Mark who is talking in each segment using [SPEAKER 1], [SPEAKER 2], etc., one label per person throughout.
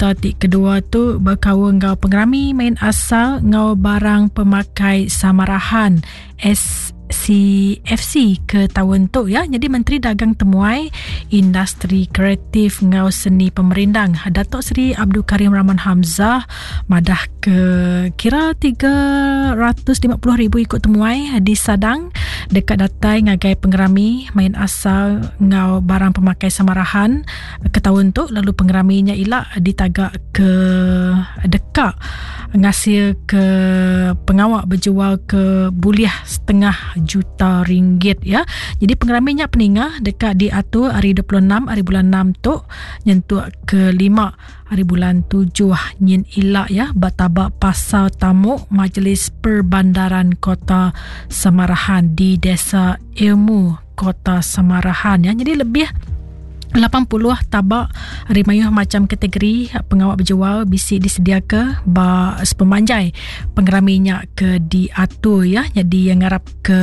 [SPEAKER 1] Berita ti kedua tu bekaul enggau pengerami main asal enggau barang pemakai Samarahan SCFC ke taun tu ya. Jadi Menteri Dagang Temuai, Industri Kreatif enggau Seni Pemerindang Datuk Seri Abdul Karim Rahman Hamzah madah ke kira 350,000 iku temuai disadang deka datai ngagai pengerami main asal enggau barang pemakai Samarahan ke taun tu lalu pengerami nya ila ditaga ke deka ngasil ke pengawa bejual ke bulih setengah juta ringgit ya. Jadi pengerami nya peninga deka diatur hari 26 hari bulan 6 tu nyentuk ke 5 hari bulan 7 nyin ila ya ba tabak pasar tamu Majlis Perbandaran Kota Samarahan di Desa Ilmu Kota Samarahan ya. Jadi lebih 80 tabak ari mayuh macham kategori pengawa bejual bisi disediaka ba sepemanjai pengerami nya ke diatur ya. Jadi yang ngarap ke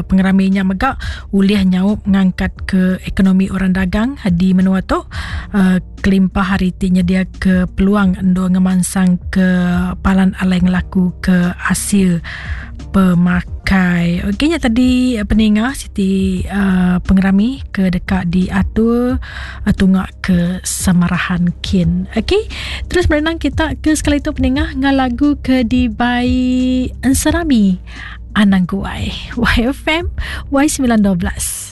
[SPEAKER 1] pengerami nya mega ulih nyaup ngangkat ke ekonomi orang dagang di menua tu uh, kelimpah hari ti nyedia ke peluang endur ngemansang ke palan alai ngelaku ke asil pemakai. Okey nya tadi eh, peninga siti uh, pengerami ke deka diatur uh, tunga ke Samarahan kin. Okey, terus berenang kita ke sekali tu peninga ngal lagu ke dibai Enserami Anang Guai. YFM Y912.